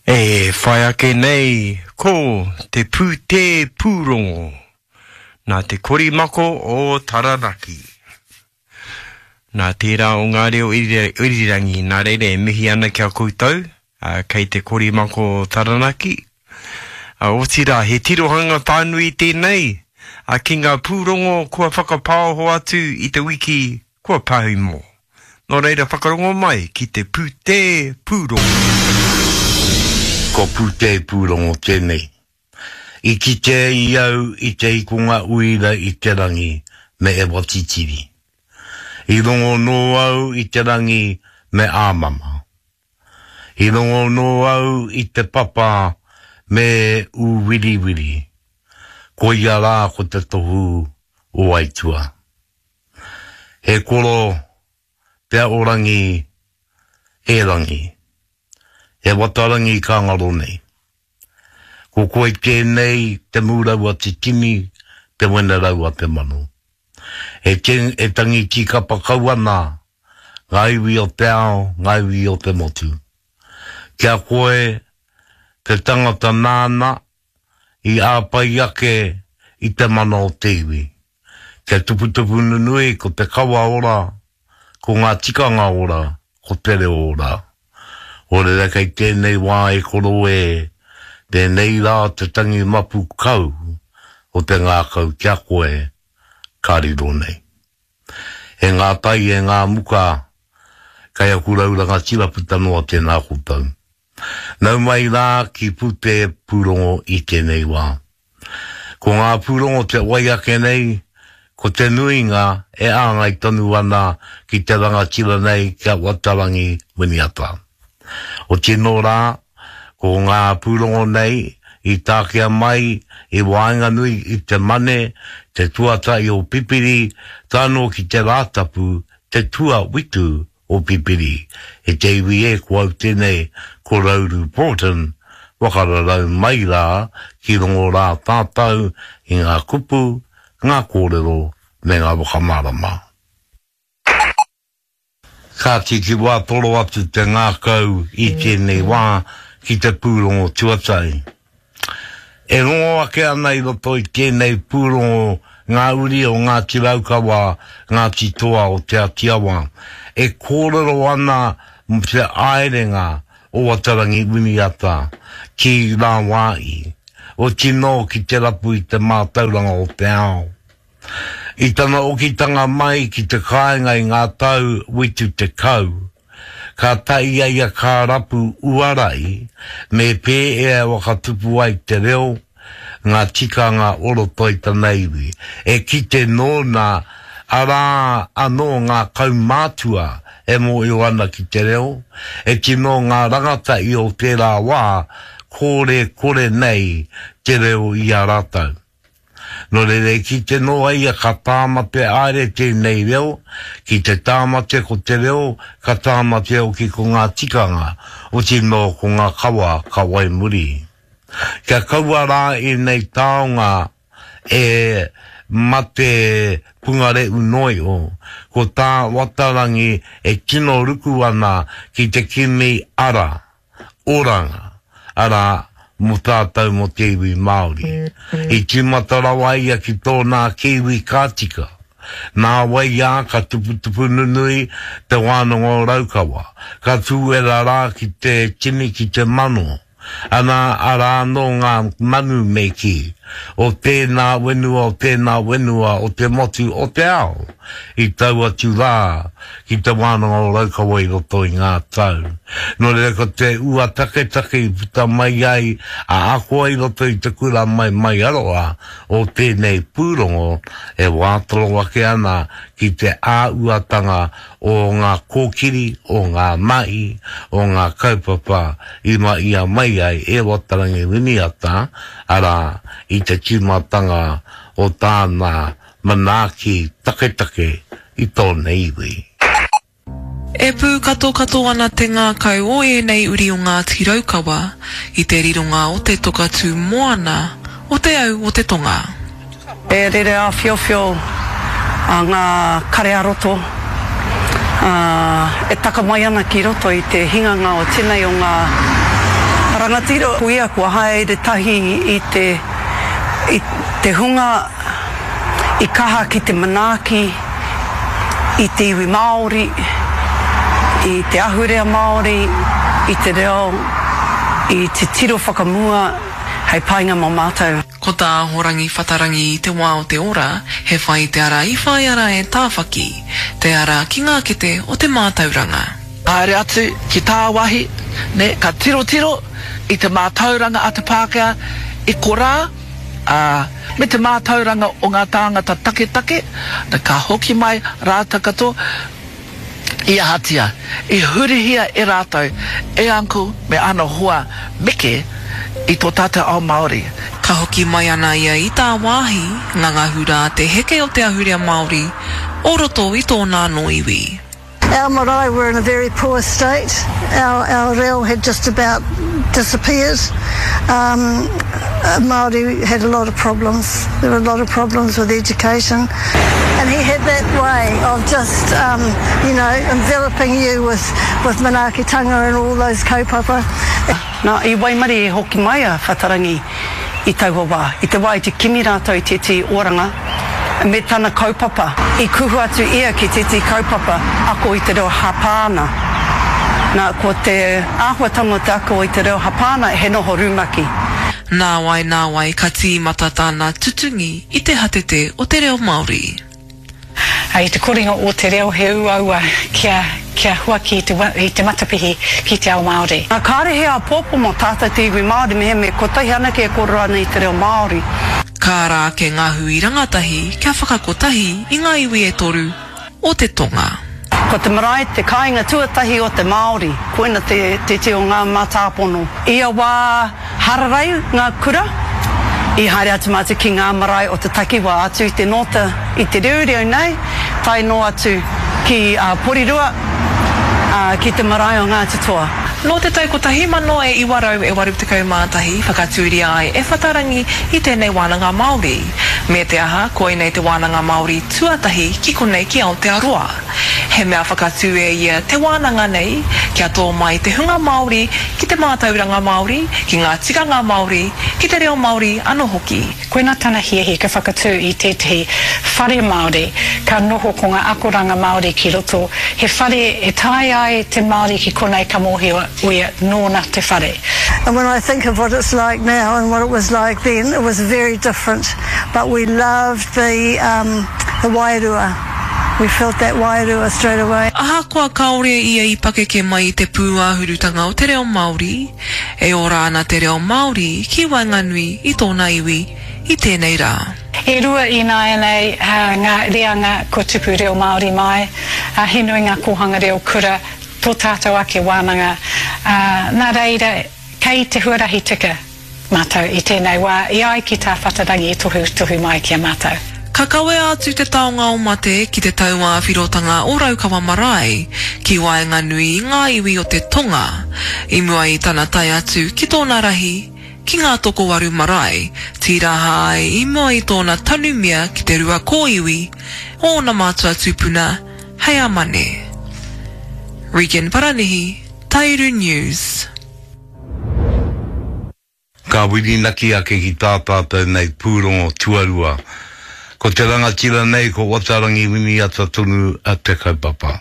E whai ake nei ko te pūtē pūrongo nā te korimako o Taranaki. Nā tērā o ngā reo irirangi, nā reira e mihi ana ki a koutou, kei te korimako o Taranaki. Otirā, he tirohanga whānui tēnei ki ngā pūrongo kua whakapaoho atu i te wiki kua pahemo. Nō reira whakarongo mai ki te pūtē pūrongo. Ko Pūtē Pūrongo tēnei. I kite ai au i te ikonga uira i te rangi me Ewa Titiri. I rongo nō au i te rangi me Āmama. I rongo nō au i te papa me Ūwiriwiri. Koia rā ko te tohu o Aituā. He koro te aorangi e rangi, he watarangi ka ngaro nei. Ko koe tēnei te mūrau a te tini, te wenerau a te mano. E, e tangi tīkapa kau ana ngā iwi o te ao, ngā iwi o te motu. Kia koe te tangata nāna i āpai ake i te mana o te iwi. Kia tuputupu nunui ko te kawa ora, ko ngā tikanga ora, ko te reo ora. Orera kei tēnei wā e koro e, tēnei rā te tangi mapu kau o te ngākau ki a koe ka riro nei. E ngā tai e ngā muka, kei aku rau rangatira puta noa tēnā koutou. Nau mai rā ki Pute Pūrongo i tēnei wā. Ko ngā pūrongo te wai ake nei, ko te nuinga e āngai tonu ana ki te rangatira nei ki a Watarangi Winiata. Otinō rā, ko ngā pūrongo nei i takea mai i waenganui i te Mane, te tuatahi o Pipiri, tae noa ki te Rātapu, te tuawitu o Pipiri, e te iwi e ko au tenei ko Rauru Broughton, whakararau mai rā ki rongo rā tātau i ngā kupu, ngā kōrero me ngā whakamārama. Kāti ki wā toro atu te ngākau i tēnei wā ki te pūrongo tuatahi. E rongo ake ana i roto i tēnei pūrongo ngā uri o Ngāti Raukawa, Ngāti Toa o Te Atiawa, e kōrero ana mō te aerenga o Watarangi Winiata ki rāwāhi, otinō ki te rapu i te mātauranga o te ao. I tana okitanga mai ki te kāinga i ngā tau 70, Ka tae a ia ka rapu uarai me pēea e whakatupu ai te reo, ngā tikanga o roto i tana iwi. E kite nōna arā anō ngā kaumātua e mōhio ana ki te reo, e tino ngā rangatahi o tērā wā kore kore nei te reo i a rātou. Nō reira e kite noa ia ka tāmate aere tēnei reo, ki te tāmate ko te reo, ka tāmate hoki ko ngā tikanga, otinō ko ngā kawa ka wai muri. Kia kaua rā ēnei taonga e mate pungareu noa iho, ko tā Watarangi e tino ruku ana ki te kimi ara oranga, arā, mō tātou mō te iwi Māori. I tīmata rawa ia ki tōna ake iwi ka tika. Nāwai ā, ka tuputupu nunui te wānanga o Raukawa, ka tūwera rā ki te tini ki te mano. Ana, arā anō ngā manu me kī, o tēnā whenua, o tēnā whenua, o te motu, o te ao, i tau atu rā ki Te Wānanga o Raukawa i roto i ngā tau. Nō reira ko te ua taketake i puta mai ai a akoa i roto i te kura maimaiaroa o tēnei pūrongo e wātoro ake ana ki te āuatanga o ngā kōkiri, o ngā mahi, o ngā kaupapa i mahia mai ai e Watarangi Winiata, arā, i te tīmatanga o tāna manaaki taketake i tōna iwi. E pūkatokato ana te ngākau o ēnei uri o Ngāti Raukawa i te rironga o te toka tū moana o Te Au o te Tonga. E rere āwhiowhio ngā kare ā-roto, ā, e taka mai ana ki roto i te hinganga o tenei o ngā. Rangatira ko ia kua haere tahi i te i te hunga i kaha ki te manaaki i te iwi Māori, i te ahurea Māori, i te reo, i te tiro whakamua hei painga mō mātou. Ko tā Ahorangi Whatarangi i te wā o te ora, he whai i te ara i whāia rā e Tāwhaki, te ara ki ngā kete o te mātauranga. Haere atu ki tāwāhi, nē, ka tirotiro i te mātauranga a te Pākehā i korā, ā, me te mātauranga o ngā tāngata taketake, nā, ka hoki mai rātou katoa, i ahatia, i hurihia e rātou, e Uncle me ana hoa meke i tō tātou ao Māori. Ka hoki mai ana ia i tāwāhi, ngangahu rā te heke o te ahurea Māori o roto i tōna anō iwi. Our marae were in a very poor state. Our, our reo had just about disappeared. Um, Māori had a lot of problems. There were a lot of problems with education. And he had that way of just, um, you know, enveloping you with, with manaakitanga and all those kaupapa. Nā, i waimarie e hoki mai a Whatarangi i taua wā, i te wā i te kimi rātou i tētehi oranga me tana kaupapa. I kuhu atu ia ki tētehi kaupapa ako i te reo Hapāna. Nā, ko te āhuatanga o te ako i te reo Hapāna he noho rumaki. Nāwai, nāwai ka tīmata tāna tutungi i te hatete o te reo Māori. I te korenga o te reo he uaua kia kia huaki i te i te matapihi ki te ao Māori. Nā, kāre he āpōpō mō tātou te iwi Māori mehemea kotahi anake e kōrero ana i te reo Māori. Ka ara ake ngā hui rangatahi kia whakakotahi i ngā iwi e toru o te tonga. Ko te marae te kāinga tuatahi o te Māori, koina te te o ngā mātāpono. Ia wā Hararei ngā kura, i haere atu mātou ki ngā marae o te takiwā, atu i te Nōta, i te Reureu nei, tae noa atu ki Porirua, ki te marae o Ngāti Toa. Nō te tau 1981 whakatūria ai e Whatarangi i tēnei wānanga Māori. Me te aha, koinei te wānanga Māori tuatahi ki konei ki Aotearoa. He mea whakatū e ia te wānanga nei kia tō mai te hunga Māori ki te mātauranga Māori, ki ngā tikanga Māori, ki te reo Māori anō hoki. Koina tana hiahia kia whakatū i tētehi whare Māori ka noho ko ngā akoranga Māori ki roto, he whare e tae ai te Māori ki konei ka mōhio ia nōna te whare. And when I think of what it's like now and what it was like then, it was very different, but we loved the, um, the wairua. We felt that wairua straight away. Ahakoa kāore ia i pakeke mai i te pūāhurutanga o te reo Māori, e ora ana te reo Māori ki waenganui i tōna iwi i tēnei rā. E rua ināianei ngā reanga kua tupu reo Māori mai, he nui ngā kōhanga reo kura, tō tātou ake wānanga, ā, nā reira kei te huarahi tika. Mātou i tēnei wā, i ai ki tā Whatarangi i tohutohu mai ki a mātou. Ka kawea atu te taonga o mate ki te tauāwhirotanga o Raukawa Marae, ki waenganui i ngā iwi o te tonga, i mua i tana tae atu ki tōna rahi, ki Ngātokowaru Marae, tīraha ai i mua i tōna tanumia ki te rua kōiwi o ōna mātua tūpuna hei a Mane. Regan Paranihi, Tairu News. Ka whirinaki ake ki tā tātou nei pūrongo tuarua. Ko te rangatira nei ko Watarangi Winiata tonu te kaupapa.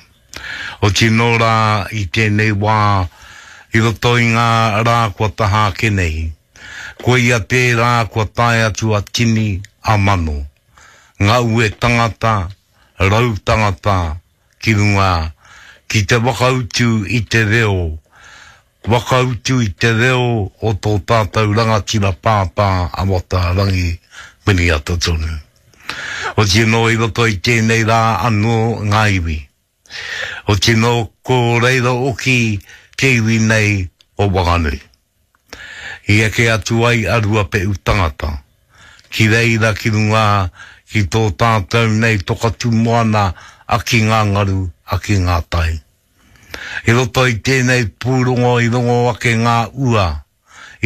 Oti nō rā i tēnei wā, i roto i ngā rā kua taha ake nei, koia tērā kua tae atu a tini, a mano, ngā ue tangata, rau tangata ki runga ki te whakautu i te reo, whakautu i te reo o tō tātou rangatira pāpā a Watarangi Winiata tonu. Oti anō i roto i tēnei rā anō ngā iwi. Oti anō ko reira oki te iwi nei o Wanganui. I eke atu ai a Ruapeʻu tangata, ki reira ki runga ki tō tātou nei toka tū moana a ki ngā ngaru, a ki ngā tai. I roto i tēnei pūrongo i rongo ake ngā ua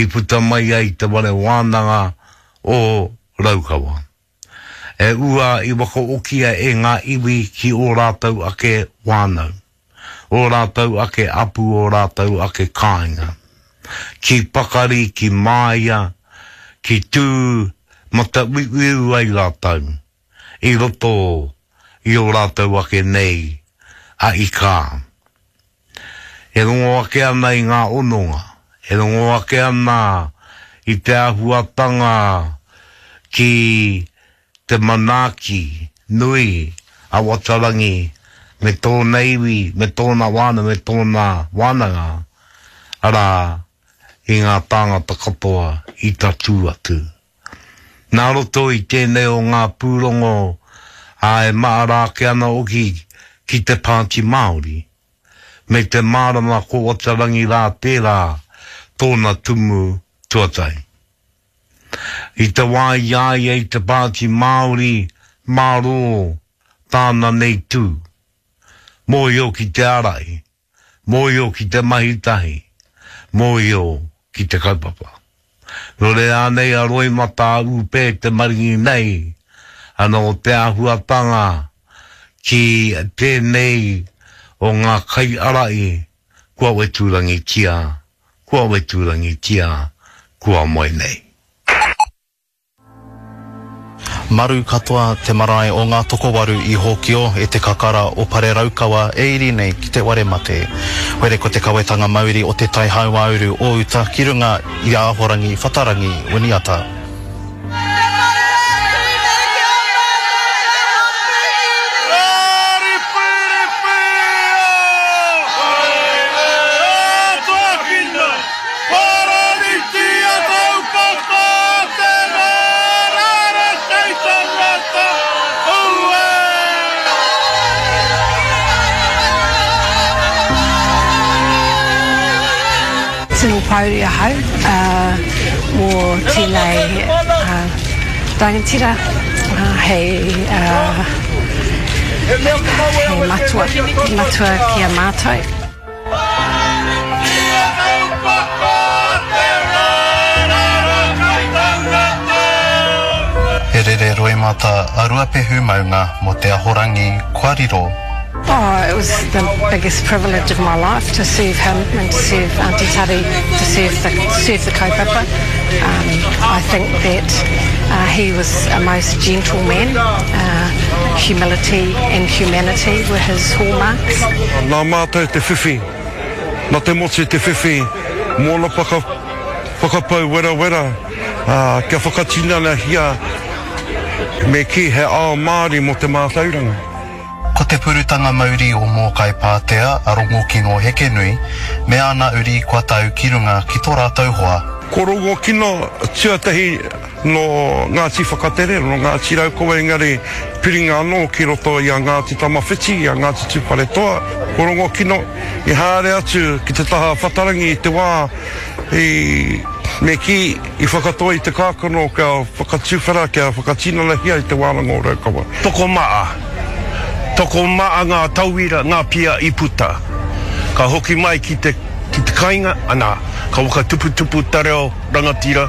i puta mai ai te whare wānanga o Raukawa. E ua i whakaokia e ngā iwi ki ō rātou ake whānau, ō rātou ake apu, ō rātou ake kāinga. Ki pakari, ki māia, ki tū matauiuiu ai rātou i roto i ō rātou ake nei a ikā. E rongo ake ana i ngā hononga, e rongo ake ana i te āhuatanga ki te manaaki nui a Watarangi me tōna iwi, me tōna wānanga, me tōna wānanga, arā, i ngā tāngata katoa i tatū atu. Nā roto i tēnei o ngā pūrongo, ā, e mahara ake ana hoki ki te Pāti Māori, me te mārama ko Watarangi rā tērā tōna tumu tuatahi. I te wā i a ia i te Pāti Māori, mārō tāna nei tū. Mōhio ki te ārahi, mōhio ki te mahi tahi, mōhio ki te kaupapa. Nō reira anei a Roimata a Ūpē te maringi nei, ana o te āhuatanga ki tēnei o ngā kaiārahi kua wetūrangitia Kua weturangitia, kua moe nei. Maru katoa te marae o Ngā Tokowaru i Hōkio e te kakara o Pareraukawa e iri nei ki te ware mate. Were ko te kawetanga mauri o te tai hauāuru o uta ki runga i a Ahorangi Whatarangi Winiata. Tino pouri ahau mō tēnei rangatira hei matua, matua ki a mātou. He rere roimata a Ruapehu maunga mo te ahorangi kua riro. Oh, it was the biggest privilege of my life to serve him and to serve Auntie Tari, to serve the, serve the kaupapa. Um, I think that uh, he was a most gentle man. Uh, humility and humanity were his hallmarks. Nā mātou te whiwhi, nā te motu te whiwhi, mōna whaka, whakapau werawera, ā, kia whakatinanahia me kī he ao Māori mō te mātauranga. Ko te purutanga mauri o Mōkai Pātea a Rongokino Hekenui me ana uri kua tau ki runga ki to ratou hoa. Ko Rongokino tuatahi nō Ngāti Whakatere, nō Ngāti Raukawa engari piringa anō ki roto i a Ngāti Tamawhiti, i a Ngāti Tūwharetoa. Ko Rongokino i haere atu ki te taha Whatarangi i te wā i, me kī, i whakatoi i te kākano kia whakatuwhera, kia whakatinanahia i te wānanga o Raukawa. Tokomaha, tokomaha ngā tauira, ngā pia i puta. Ka hoki mai ki te, ki te kainga, ana, ka whakatuputupu te reo rangatira,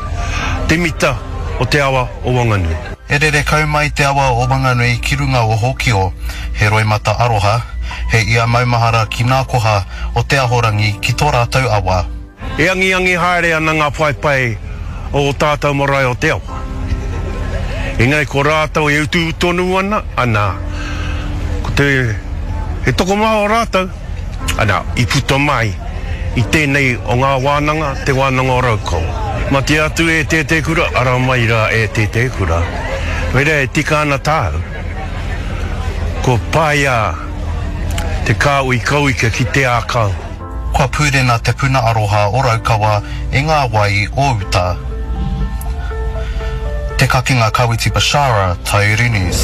te mita o te awa o Wanganui. E rere kau mai te awa o Wanganui ki runga o Hōkio, he roimata aroha, he ia maumahara ki nā koha o te ahorangi ki tō rātou awa. E angiangi haere ana ngā paepae o ō tātou marae o te awa. Engari ko rātou e utu tonu ana, ana, ko te, he tokomaha o rātou, ana, i puta mai i tēnei o ngā wānanga, Te Wānanga o Raukawa. Mate atu e Tētēkura, ara mai rā e Tētēkura. Reira e tika ana tāu, kua paea te kāhui kauika ki te ākau. Kua pūrena te puna aroha o Raukawa i ngā wai o uta. Te Kakenga Kawiti Bashara, Taiuru News.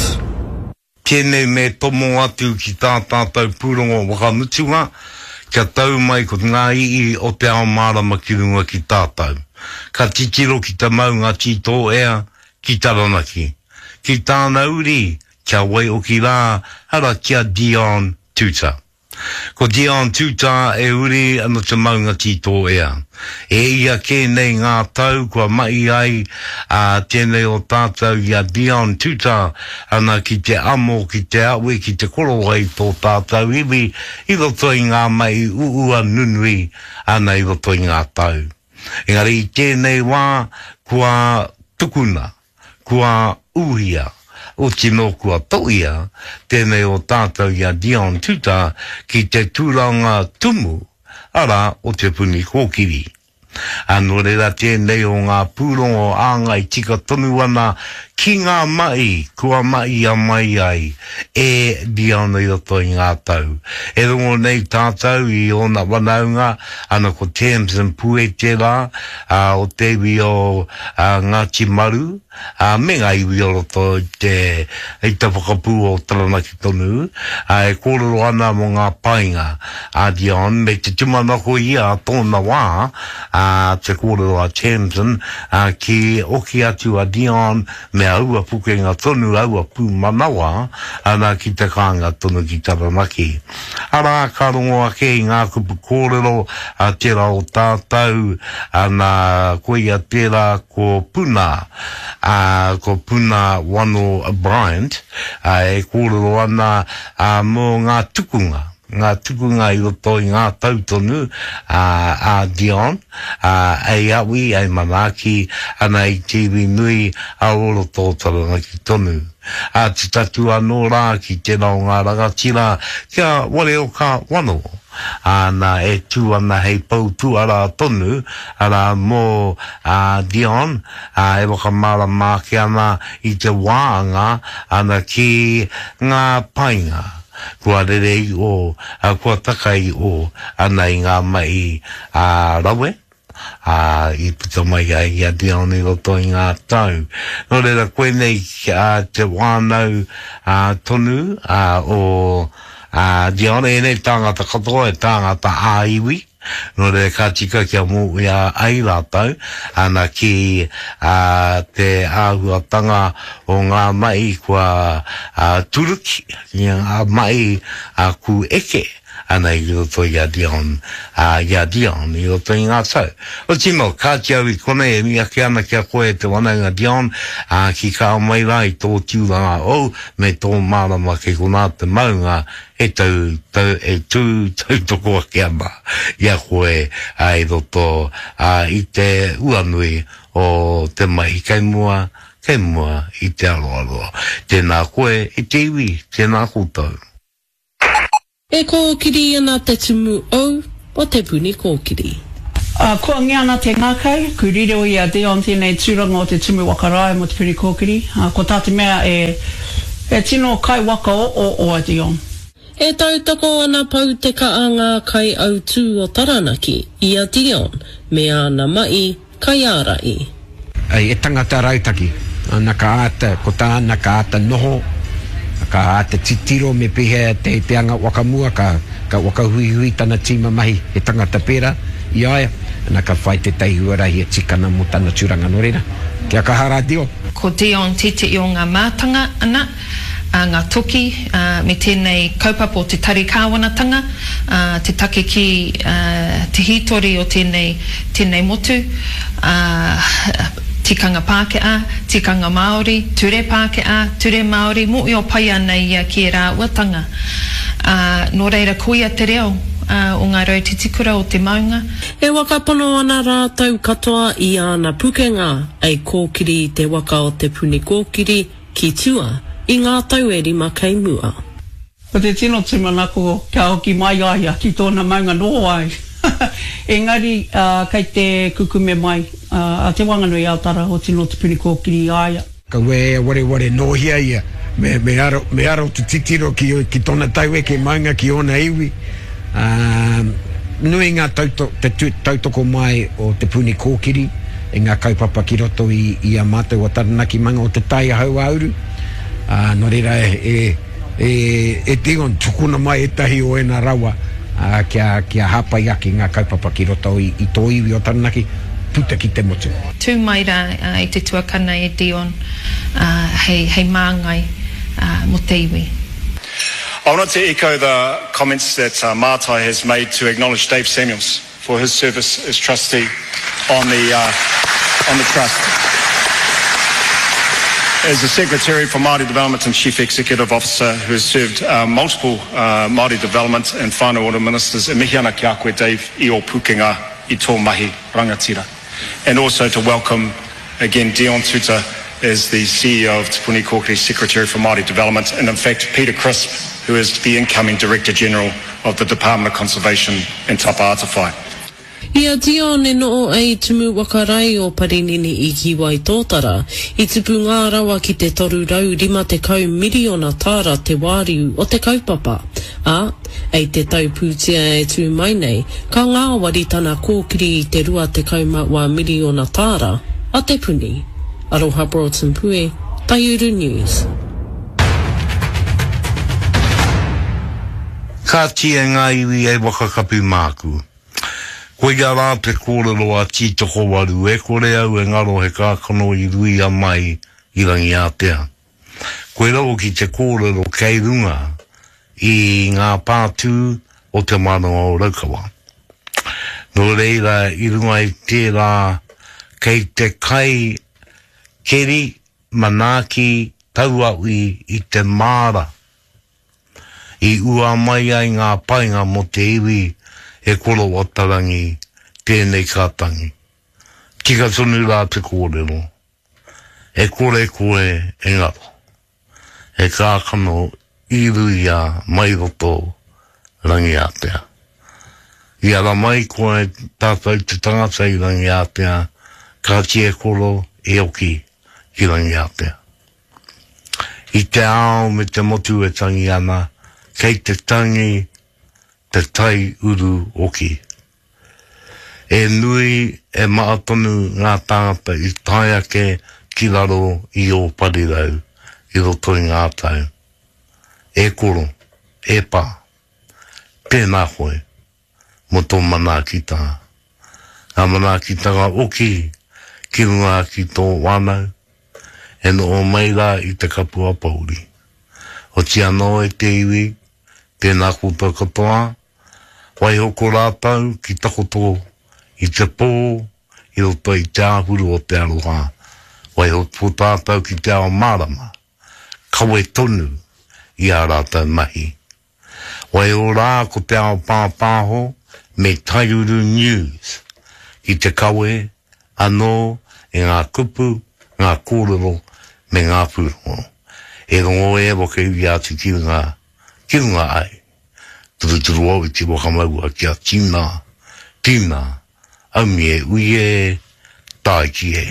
Tēnei me tomo atu ki tā tātou pūrongo whakamutunga, kia tau mai ko ngā i'i o te ao mārama ki runga ki tātou. Ka titiro ki te maunga tītōea, ki Taranaki. Ki tāna uri, kia waioki rā, ara ki a Dion Tuta. Ko Dion Tuta e uri ana te maunga tītōea. E ia kē nei ngā tau kua mahi ai a tēnei o tātou i a Dion Tuta ana ki te amo, ki te awe, ki te korowai tō tātou iwi i roto i ngā mahi uua nunui ana i roto i ngā tau. Engari i tēnei wā kua tukuna, kua ūhia, otinō kua toia tēnei o tātou i a Dion Tuta ki te tūranga tumu, arā, o Te Puni Kōkiri. Ā, nō reira tēnei o ngā pūrongo āngai tika tonu ana ki ngā mahi kua mahia mai ai e Dion i roto i ngā tau. E rongo nei tātou i ōna whanaunga, ana ko Tamsin Puete rā, ā, o te iwi o Ngāti Maru, ā, me ngā iwi o roto i te, i te whakapū o Taranaki tonu, ā, e kōrero ana mō ngā painga a Dion, me te tūmanako ia a tōna wā, ā, te kōrero a Tamsin, ā, ki oki atu a Dion me aua pukenga tonu, aua pūmanawa, ana ki te kāinga tonu ki Taranaki. Arā, ka rongo ake i ngā kupu kōrero a tērā o tātou, ana, koia tērā ko Puna, ā, ko Puna Wano Bryant, ā, e kōrero ana, ā, mō ngā tukunga, ngā tukunga i roto i ngā tau tonu, ā, a Dion, ā, ei awi, ei manaaki ana i te iwi nui a o roto o Taranaki tonu. Ā, te tatū anō rā ki tērā o ngā rangatira kia Wareoka Wano, āna e tū ana hei pou tuarā tonu, arā, mō a Dion, ā, e whakamārama ake ana i te wāanga ana ki ngā painga kua rere i ō, ā, kua taka i ō ana i ngā mahi ā rawe, ā, i puta mai ai i a Dion i roto i ngā tau. Nō reira, koinei te whānau tonu o Dion, ēnei tāngata katoa e tāngata ā-iwi, nō reira ka tika kia mōhia ai rātou ana ki te āhuatanga o ngā mahi kua turuki, ki ngā mahi ku eke. Ana i roto i a Dion, ā, i a Dion i roto i ngā tau. Oti no, kāti au i konei e mihi ake ana ki a koe e te wanaunga Dion, ā, ki kā mai rā i tō tūranga ou me tō mārama kei konā te maunga e tau, tau, e tū tautoko ake ana i a koe, ā, i roto, ā, i te uanui o te mahi kei mua, kei mua i te aroaro. Tēnā koe e te iwi, tēnā koutou. E kōkiri ana te tumu ou o Te Puni Kōkiri. Ā, koangia ana te ngākau, ku riro i a Dion tēnei tūranga o te Tumu Waka Rae mō Te Puni Kōkiri, ā, ko tā te mea e, e tino kai waka oo a Dion. E tautoko ana Pou Te Kaa ngā kaiautū o Taranaki i a Dion me āna ma'i Kaiārahi. He tangata rautaki. Ana ka āta, ko tāna ka āta noho, ka āta titiro me pēhea te, te anga whakamua, ka, ka whakahuihui tana tīma mahi, he tangata pērā i a ia, ana ka whai tētahi huarahi e tika ana mō tana tūranga. Nō reira, kia kaha rā Dion. Ko Dion tētehi o ngā mātanga, ana, a ngā toki, ā, me tēnei kaupapa o te tari kāwanatanga, ā, te take ki, ā, te hītori o tēnei, tēnei motu, ā, tikanga Pākehā, tikanga Māori, ture Pākehā, ture Māori, mōhio pai ana ia ki ērā āhuatanga. Ā, nō reira koia te reo, ā, o ngā rautitikura o te maunga. E whakapono ana rātou katoa i āna pukenga ei kōkiri i te waka o Te Puni Kōkiri, Ki tua, i ngā tau e rima kei mua. Ko te tino tūmanako kia hoki mai a ia ki tōna maunga noho ai. Engari kei te kukume mai a Te Wanganui a Tara o Tino Te Puni Kōkiri i a ia. Kaua e wareware nōhia ia, me, me aro, me aro te titiro ki, ki tona taueke maunga, ki ōna iwi, ā, nui ngā tauto, te tu, tautoko mai o Te Puni Kōkiri i ngā kaupapa ki roto i, i a mātou o Taranaki Manga o Te Tai Hauāuru, ā, nō reira e, e, e, e Dion, tukuna mai ētahi o ēnā rawa, ā, kia, kia hāpai ake ngā kaupapa ki roto i, i tō iwi o Taranaki, puta ki te motu. Tū mai rā i te tuakana e Dion, ā, hei, hei māngai, ā, mō te iwi. I wanted to echo the comments that uh, Mātai has made to acknowledge Dave Samuels for his service as trustee on the, uh, on the trust. As the Secretary for Māori Development and Chief Executive Officer who has served uh, multiple uh, Māori Development and Whānau Ora Ministers, e mihi ana ki a koe, Dave, i o pukenga i tō mahi rangatira. And also to welcome again Dion Tuta as the CEO of Te Puni Kōkiri Secretary for Māori Development, and in fact Peter Crisp, who is the incoming Director General of the Department of Conservation and Tapa Atawhai. I a Dion e noho ai Tumu Waka Rai o Parinini i ki Waitōtara, i tupu ngā rawa ki te 350 miriona tāra te wāriu o te kaupapa, ā, ei te tau pūtea e tū mai nei, ka ngāwari tana kōkiri i te 21 miriona tāra a te puni. Aroha Broughton Pue, Taiuru News. Kāti e ngā iwi e waka kapi māku. Koia rā te kōrero a Tītokowaru, e kore au e ngaro he kākano i ruia mai i Rangiātea. Koira hoki te kōrero kei runga i ngā pātū o Te Wānanga o Raukawa. Nō reira, i runga i tērā, kei te kai keri manaaki tauawi i te māra I ua mai ai ngā painga mō te iwi e Korowatarangi tēnei ka tangi. Tika tonu rā te kōrero, e kore koe e ngaro. He kākano i ruia mai roto Rangiātea. I ara mai koe tātou te tangata i Rangiātea, kāti e koro e oki ki Rangiātea. I te ao me te motu e tangi ana, kei te tangi te tai uru hoki. E nui, e maha tonu ngā tāngata i tae ake ki raro i ō parirau i roto i ngā tau. E koro, e pā, tēnā koe. mō tō manaakitanga. Ngā manaakitanga oki ki runga ki tō whānau, e noho mai rā i te kapua pouri. Oti anō e te iwi, tēnā koutou katoa, waiho ko rātou ki takoto i te pō i roto i te āhuru o te aroha, waiho ko tātou ki te ao mārama, kawe tonu i ā rātou mahi. Waiho rā ko te ao pāpāho me Taiuru News ki te kawe anō i ngā kupu, ngā kōrero me ngā pūrongo. E rongo e whakairia atu ki runga, ki runga ai. Turuturu au i te whakamaua kia tina, tina, aumie ui e, tāiki e.